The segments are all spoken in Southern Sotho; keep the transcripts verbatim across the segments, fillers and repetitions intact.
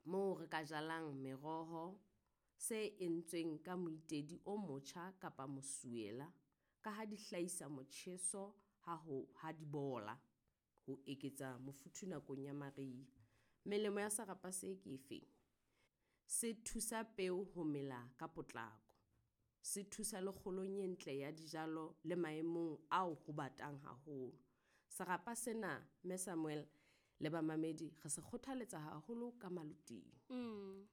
Moo re ka jalang meroho, se entsweng ka moitedi o motjha kapa mosuwela. Ka ha di hlahisa motjheso ha ho ha di bola. Ho eketsa mofuthu nakong ya mariha. Melemo ya serapa se ke efeng? Se thusa peo ho mela ka potlako. Se thusa le kgolong e ntle ya dijalo le maemong ao ho batang haholo. Serapa sena Mme Samuel le bamamedi re se kgothaletsa haholo ka maloting. Mm.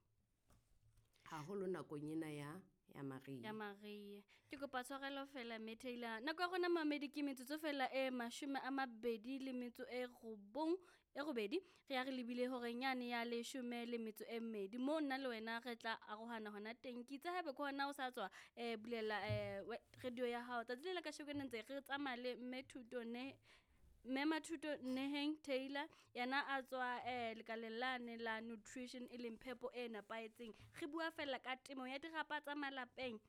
Haholo nakong ena ya ya mariha. Ya mariha. Ke kopa tshwarelo fela mme Taylor. Nako ya rona mamedi ke metsotso fela e mashome a mabedi le metso e robong e robedi. Re ya re lebile horeng yane ya leshome le metso e mmedi. Moo nna le wena re tla arohana hona teng. Ke itse haeba ke hona o sa tswa eh bulela eh radio ya hao. Tsatsi le la kasheko ne ntse re tsamaya le mme Thuto ne Mme Mathuto Neheng Taylor yena a tswa eh lekaleng lane la nutrition e leng phepo e nepahetseng. Re bua fela ka temo ya dirapa tsa malapeng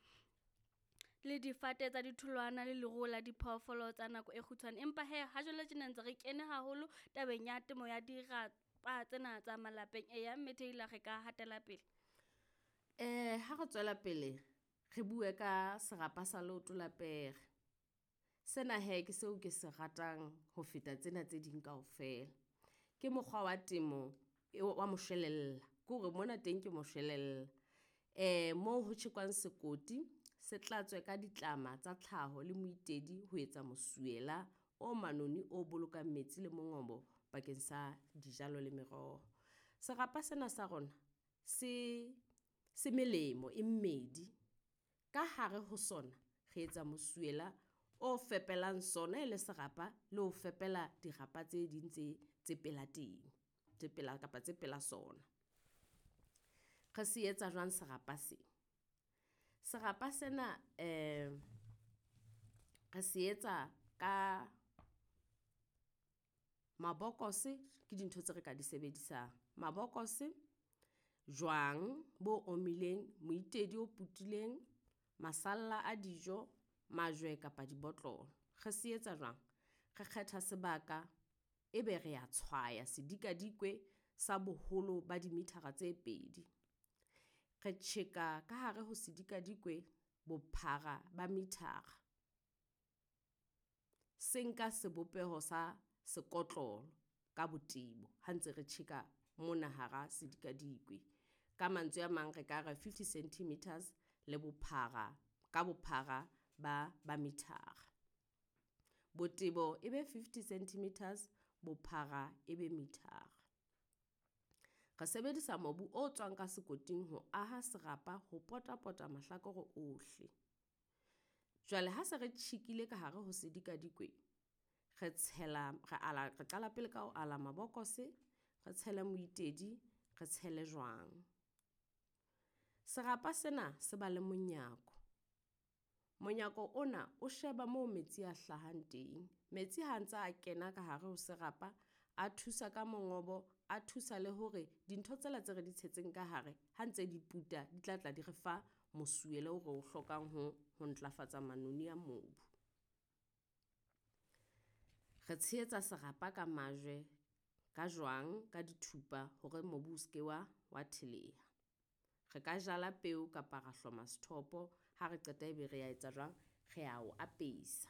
le difate tsa ditholwana le leruo la diphoofolo tsa nako e kgutshwane. Empa he ha jwale tjena ntse re kene haholo tabeng ya temo ya dirapa tsena tsa malapeng. Eya mme Taylor re ka hatela pele. Eh ha re tswela pele re bue ka serapa sa leoto la pere. Sena he ke seo ke se ratang ho feta tsena tse ding kaofela. Ke mokgwa wa temo wa moshwelella, ke hore mona teng ke moshwelella. Eh moo ho tjhekwang sekoti se tlatswe ka ditlama tsa tlhaho le moitedi ho etsa mosuwela o manoni o bolokang metsi le mongobo bakeng sa dijalo le meroho. Serapa sena sa rona se se melemo e mmedi. Ka hare ho sona re etsa mosuwela o fepelang sona e le serapa le ho fepela dirapa tse ding tse tse pela teng. Tse pela kapa tse pela sona. Re se etsa jwang serapa se? Serapa sena eh re se etsa ka mabokose, ke dintho tse re ka di sebedisang. Mabokose, jwang bo omileng, moitedi o putileng, masalla a dijo, majwe kapa dibotlolo. Re se etsa jwang? Re kgetha sebaka, ebe re a tshwaya sedikadikwe sa boholo ba dimithara tse pedi. Re tjheka ka hare ho sedikadikwe bophara ba mithara. Se nka sebopeho sa sekotlolo ka botebo ha ntse re tjheka mona hara sedikadikwe. Ka mantswe a mang re ka re fifty centimeters le bophara, ka bophara ba ba mithara. Botebo e be fifty centimeters, bophara e be mithara. Re sebedisa mobu o tswang ka sekoting ho aha serapa ho pota-pota mahlakore ohle. Jwale ha se re tjhekile ka hare ho sedikadikwe, re tshela re ala re qala pele ka ho ala mabokose, re tshele moitedi, re tshele jwang. Serapa sena se ba le monyako. Monyako ona o sheba moo metsi a hlahang teng. Metsi ha ntsa a kena ka hare ho serapa, a thusa ka mongobo, a thusa le hore dintho tsena tse re di tshetseng ka hare ha ntse di puta, di tla tla di re fa mosuwela o re o hlokang ho ho ntlafatsa manoni a mobu. Re tshehetsa serapa ka majwe, ka jwang, ka dithupa hore mobu o seke wa wa theleha. Re ka jala peo kapa ra hloma sethopo. Ha re qeta ebe re a etsa jwang, re a o apesa.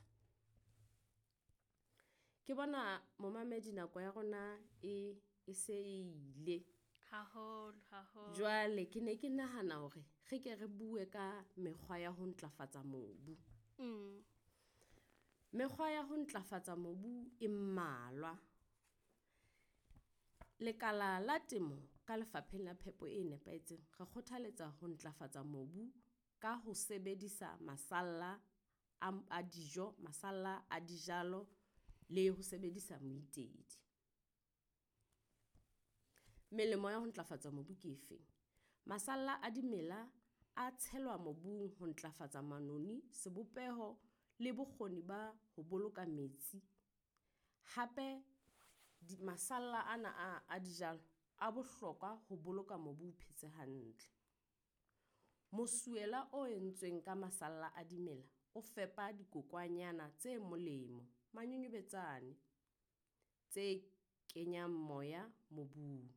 Ke bona momamedi nako ya rona e e se ile. Haholo, haholo. Jwale ke ne ke nahana hore re ke re bue ka mekgwa ya ho ntlafatsa mobu. Mm. Mekgwa ya ho ntlafatsa mobu e mmalwa. Lekala la temo ka lefapheng la phepo e nepahetseng, re kgothaletsa ho ntlafatsa mobu ka ho sebedisa masalla a, a dijo, masalla a dijalo le ho sebedisa moitedi. Melemo ya ho ntlafatsa mobu ke efeng? Masalla a dimela a tshelwa mobung ho ntlafatsa manoni, sebopeho le bokgoni ba ho boloka metsi. Hape di, masalla ana a, a dijalo a bohlokwa ho boloka mobu o phetse hantle. Mosuwela o entsweng ka masalla a dimela o fepa dikokwanyana tse molemo, manyonyobetsane, tse kenyang moya mobung.